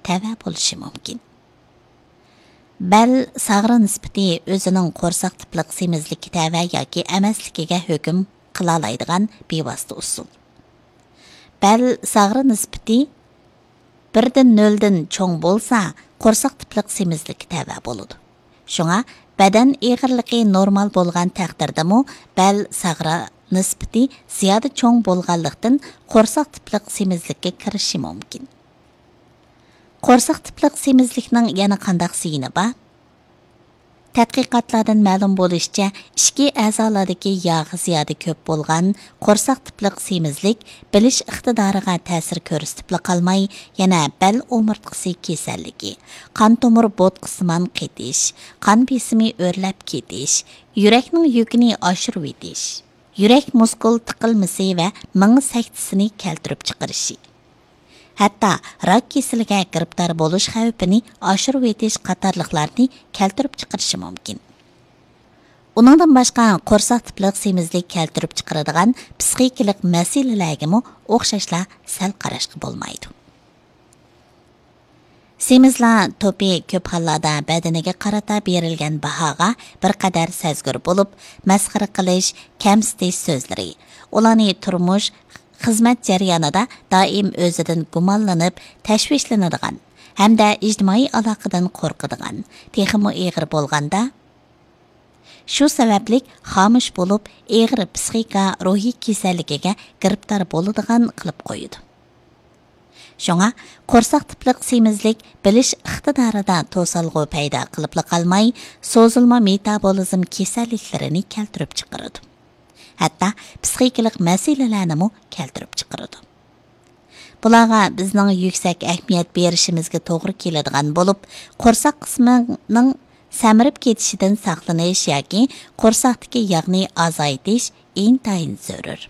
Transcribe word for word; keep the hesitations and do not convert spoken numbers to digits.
تەۋە بولۇشى مۇمكىن. بەل ساغرا نىسبىتى ئۆزىنىڭ قورساق تىپلىق سېمىزلىككە تەۋە ياكى ئەمەسلىكىگە ھۆكۈم قىلالايدىغان بىۋاسىتە ئۇسۇل. بەل ساغرا نىسبىتى بىردىن نۆلدىن چوڭ بولسا، قورساق تىپلىق سېمىزلىككە تەۋە بولىدۇ. شۇڭا بەدەن ئېغىرلىقى نورمال بولغان تەقدىردىمۇ بەل ساغرا نىسبىتى زىيادە چوڭ بولغانلىقتىن، قورساق تىپلىق سېمىزلىككە كىرىشى مۇمكىن. قورساق تىپلىق سېمىزلىكنىڭ يەنە قانداق زىيىنى بار؟ تەتقىقاتلاردىن مەلۇم بولۇشىچە، ئىچكى ئەزالاردىكى ياغ زىيادە كۆپ بولغان قورساق تىپلىق سېمىزلىك بىلىش ئىقتىدارىغا تەسىر كۆرسىتىپلا قالماي، يەنە بەل ئومۇرتقىسى كېسەللىكى، قان تومۇر بوتقىسىمان قېتىش، قان بېسىمى ئۆرلەپ كېتىش، يۈرەكنىڭ يۈكىنى ئاشۇرۇۋېتىش، يۈرەك مۇسكۇل تىقىلمىسى ۋە مېڭە سەكتىسىنى كەلتۈرۈپ چىقىرىشى، ھەتتا راك كېسىلىگە گىرىپتار بولۇش خەۋپىنى ئاشۇرۇۋېتىش قاتارلىقلارنى كەلتۈرۈپ چىقىرىشى مۇمكىن. ئۇنىڭدىن باشقا، قورساق تىپلىق سېمىزلىك كەلتۈرۈپ چىقىرىدىغان پسىخىكىلىق مەسىلىلەرگىمۇ ئوخشاشلا سەل قاراشقا بولمايدۇ. سېمىزلار توپى كۆپ ھاللاردا بەدىنىگە قارىتا بېرىلگەن باھاغا بىر قەدەر سەزگۈر بولۇپ، مەسخىرە قىلىش، كەمسىتىش سۆزلىرى، ئۇلارنى تۇرمۇش، خىزمەت جەريانىدا دائىم ئۆزىدىن گۇمانلىنىپ، تەشۋىشلىنىدىغان ھەمدە ئىجتىمائىي ئالاقىدىن قورقىدىغان، تېخىمۇ ئېغىر بولغاندا، شۇ سەۋەبلىك خامۇش بولۇپ، ئېغىر پسىخىكا روھىي كېسەللىكىگە گىرىپتار بولىدىغان قىلىپ قويىدۇ. شۇڭا، قورساق تىپلىق سېمىزلىك بىلىش ئىقتىدارىدا توسالغۇ پەيدا قىلىپلا قالماي، سوزۇلما مېتابولىزم كېسەللىكلىرىنى كەلتۈرۈپ چىقىرىدۇ. ھەتتا پسىخىكىلىق مەسىلىلەرنىمۇ كەلتۈرۈپ چىقىرىدۇ. بۇلارغا بىزنىڭ يۈكسەك ئەھمىيەت بېرىشىمىزگە توغرا كېلىدىغان بولۇپ، قورساق قىسمىنىڭ سەمرىپ كېتىشىدىن ساقلىنىش ياكى قورساقتىكى ياغنى ئازايتىش ئىنتايىن زۆرۈر.